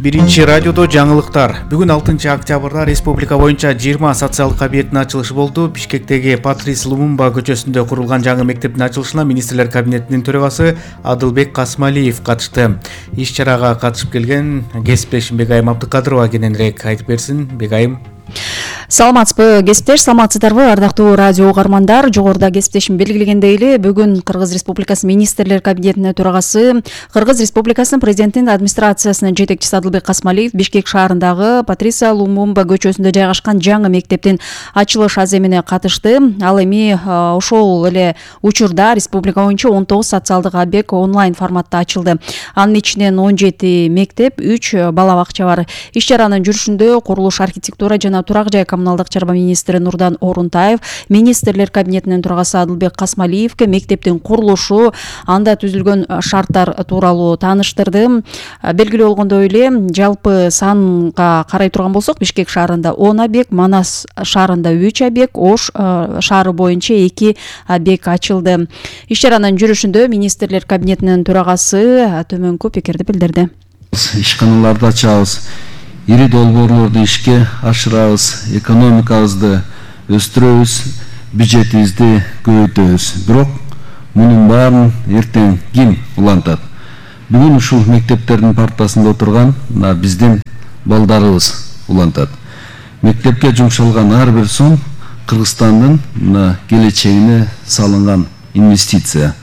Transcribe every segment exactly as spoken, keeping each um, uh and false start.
Биринчи радиодо жаңылыктар. Бүгүн алтынчы октябрда республика боюнча жыйырма социалдык объекттин ачылышы болду. Бишкектеги Патрис Лумумба көчөсүндө курулган жаңы мектептин ачылышына министрлер кабинетинин төрагасы Адылбек Касмалиев катышты. Иш чарага катышып келген кесиптешим Бегайым Абдыкадырова кененирээк айтып берсин. Бегайым. Саламатсызбы кесиптеш, саламатсыздарбы ардактуу радио угармандар. Жогоруда кесиптешим белгилегендей эле бүгүн Кыргыз Республикасы министрлер кабинетинин төрагасы, Кыргыз Республикасынын президентинин администрациясынын жетекчиси Адылбек Касмалиев Бишкек шаарындагы Патриса Лумумба көчөсүндө жайгашкан жаңы мектептин ачылыш аземине катышты. Ал эми ошол эле учурда республика боюнча он тогуз социалдык объект онлайн форматта ачылды. Анын ичинен он жети мектеп, үч бала бакча бар. Иш чаранын жүрүшүндө курулуш, архитектура жана турак жай коммуналдык чарба министри Нурдан Орунтаев министрлер кабинетинин төрагасы Адылбек Касмалиевке мектептин курулушу, анда түзүлгөн шарттар тууралуу тааныштырды. Белгилүү болгондой эле жалпы санга карай турган болсок, Бишкек шаарында он объект, Манас шаарында үч объект, Ош шаары боюнча эки объект ачылды. Иш чаранын жүрүшүндө министрлер кабинетинин төрагасы төмөнкү пикирди билдирди. Ишканаларды ачабыз, ири долбоорлорду ишке ашырабыз, экономикабызды өстүрөбүз, бюджетибизди көбөйтөбүз. Бирок мунун баарын эртең ким улантат? Бүгүн ушул мектептердин партасында отурган биздин балдарыбыз улантат. Мектепке жумшалган ар бир сом Кыргызстандын келечегине салынган инвестиция.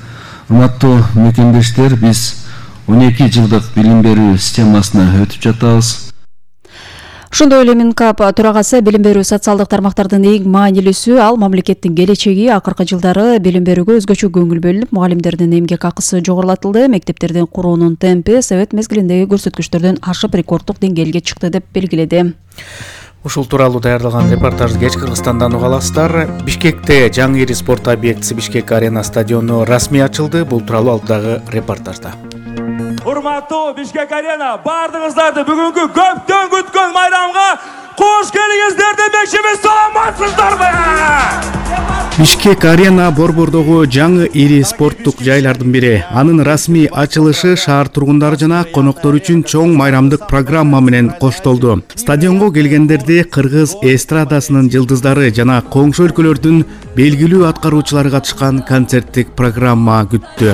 Урматтуу мекендештер, биз он эки жылдык билим берүү системасына өтүп жатабыз. Ошондой эле Минкап төрагасы билим берүү социалдык тармактардын эң маанилүүсү, ал мамлекеттин келечеги. Акыркы жылдары билим берүүгө өзгөчө көңүл бөлүнүп, мугалимдердин эмгек акысы жогорулатылды. Мектептердин куруунун темпи совет мезгилиндеги көрсөткүчтөрдөн ашып рекорддук деңгээлге чыкты деп белгиледи. Ушул тууралуу даярдалган репортажды кеч Кыргызстандан уга аласыздар. Бишкекте жаңы ири спорт объектиси Бишкек арена стадиону расмий ачылды. Бул тууралуу алдагы репортажда. Урматтуу Бишкек арена, бардыгыңыздарды бүгүнкү көптөн күткөн майрамга кош келиңиздер демекчимиз. Саламатсыздарбы? Бишкек арена Борбордогу жаңы ири спорттук жайлардын бири. Анын расмий ачылышы шаар тургундары жана коноктор үчүн чоң майрамдык программа менен коштолду. Стадионго келгендерди Кыргыз эстрадасынын жылдыздары жана коңшу өлкөлөрдүн белгилүү аткаруучулары катышкан концерттик программа күттү.